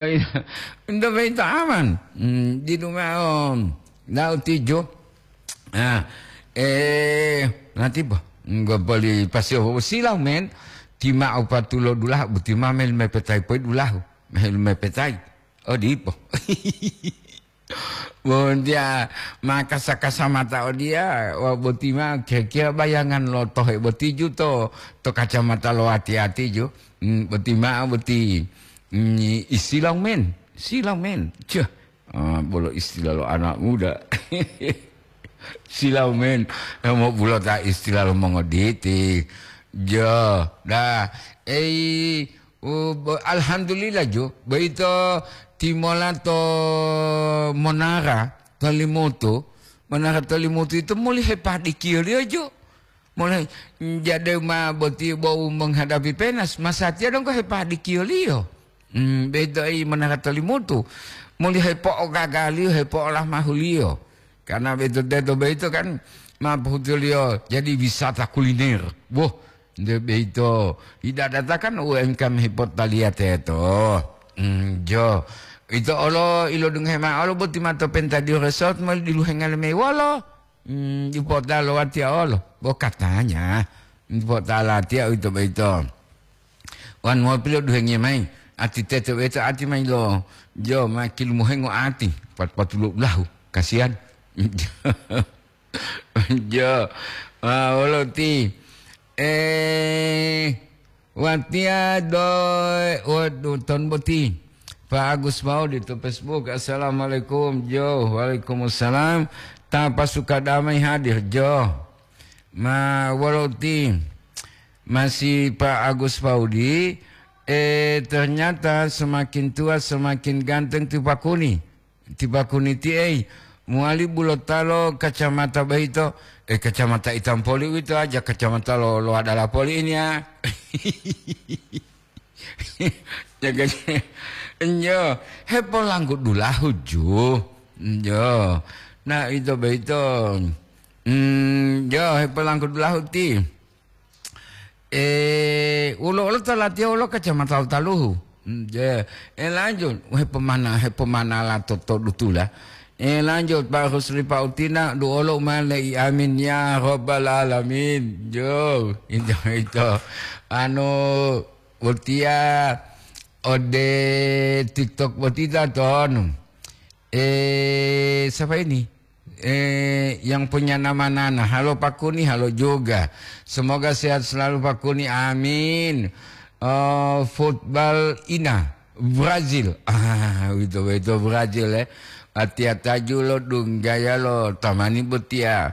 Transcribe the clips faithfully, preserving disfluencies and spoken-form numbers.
Ento boyito aman. Hmm, didu mao. Nau tijo. Ah, eh, nanti po. Nggopoli pasio silau men. Tima upatulo dulahu, buti ma mel mepetai poi dulahu. Mel mepetai. Oh, dipo. Bontia ma kasa-kasa mata odia, wa boti ma kira-kira bayangan lo tohe boti ju to, to kacamata lo ati-ati ju. Hmm, boti ma boti, hmm, istilah men, silau men. Ceh, ah, bolo istilah lo anak muda. Silau men, mo bulota istilah lo mongoditi. Jo, dah, ei, U, bo-, alhamdulillah ju, boyito timola to monara to Limutu, monara to Limutu ito muli hepadikiyoliyo ju. Muli jade ma boti bo u menghadapi penas, masatiya donggo hepadikiyoliyo. Hmm, boyito i monara to Limutu, muli hepo'ogagaliyo, hepo'olamahuliyo. Karena boyito teto boyito kan ma pohutuliyo jadi wisata kuliner. Woh, nde boyito, idadata kan U M K M hipotaliya teto. Hmm, jo. Ito olo ilodungohe ma'o olo boti mato Pentadio Resort moli diluhenga lemei wolo. Hmm, dipota lo watiya olo. Bo katanya, dipota latiya uwito boyito. Wan mopi loduhengiya mayi, ati teto boyito ati mayi lo, jo, ma kilumuhengo ati, pat-, patulo ulahu, kasihan. Jo, ah, wolo ti, eh, watiya do, waduh, ton boti. Pak Agus Maudi to Facebook, "Assalamualaikum, Jo." "Waalaikumsalam." "Tapa suka damai hadir, Jo." Ma wolo ti, masih Pak Agus Paudi, eh, ternyata semakin tua semakin ganteng ti Pakuni. Ti Pakuni ti ei, muali bulotalo kacamata boyito, eh, kacamata itam poli uwito aja, kacamata lo, lo adala poli ini ya. Jaga, njo, hepolanggu dulahu ju. Njo. Nah, ito boyito. Hmm, njo, hepolanggu dulahu ti. Eh, ulo-ulo to latiya wolo kacamata taluhu. Hmm, je. Eh, lanjut. Hepomana, hepomanala to, to dutula. Eh, lanjut, Pak Rusli, Pak Utina, duolo mane i amin ya rabbal alamin. Jo, ito, ito. Anu, Botiya ode TikTok boti ta tonu. Eh, siapa ini? Eh, yang punya nama Nana. Halo Pak Kuni, halo juga. Semoga sehat selalu Pak Kuni. Amin. Eh, football Ina, Brazil. Ah, itu, itu Brazil, eh. Atiya taju lo dunggaya lo tamani botiya.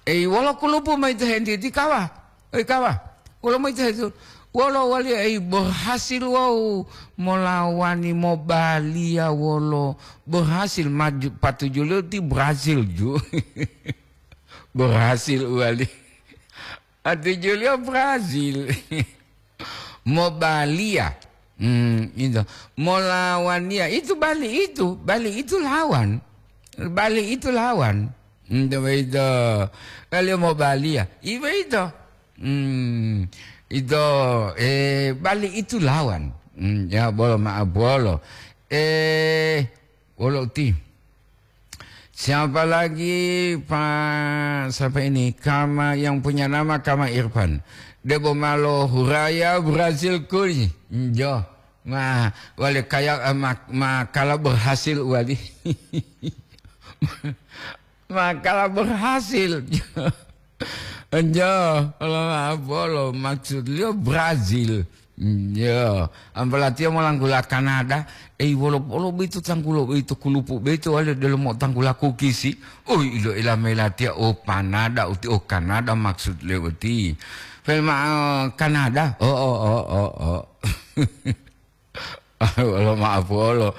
Eh, wolo kulupu mayi to hentiti kawa. Oi kawa, wolo mayi to hetu? Wolo wali ei berhasil wau molawani mobaliya wolo berhasil maju patujuliyo ti Brazil ju. Berhasil wali. Patujuliyo Brazil. Mobaliya. Hmm, itu. Molawaniya. Itu bali itu. Bali itu lawan. Bali itu lawan. Hmm, itu. Bali mobaliya. Ibe itu. Hmm, itu, eh, bali itu lawan. Hmm, ya, bolo maaf, bolo. Eh, bolo ti. Siapa lagi, Pak? Siapa ini? Kama yang punya nama Kama Irfan. Debo malo huraya Brazil kuli. Hmm, jo. Ma, wale kaya, eh, ma, ma kala berhasil wali. Makalah berhasil. Enjo, kalau maaf bolo, maksud liyo Brazil. Enjo, ampalatiyo molanggula Kanada, ei, wolo, wolo boyito tanggulo boyito, kulupu boyito wali delomo tanggula kukisi. Ui, ilo ila melatiya, oh, panada uti, oh, Kanada maksud liyo uti. Pelma, oh, Kanada. Oh, oh, oh, oh, oh. Wolo maaf wolo.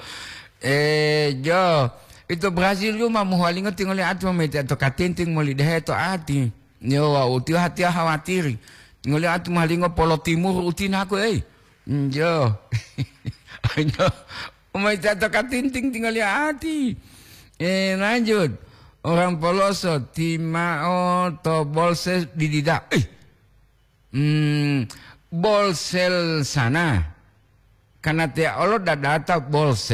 Eh, jo, ito Brazil yuma mohuwalingo tingoli ati mometeya to katinting moli dehe to ati. Yo, wau tiyo hatiya hawatiri. Tingoli ati mohuwalingo polo timur utinako, ei. Mm, jo. Jo. Mometeya to katinting tingoli ati. Eh, lanjut. Orang Poloso, timao to Bolsel didida. Eh. Hmm, Bolsel sana. Karena tiya olo dadata Bolsel.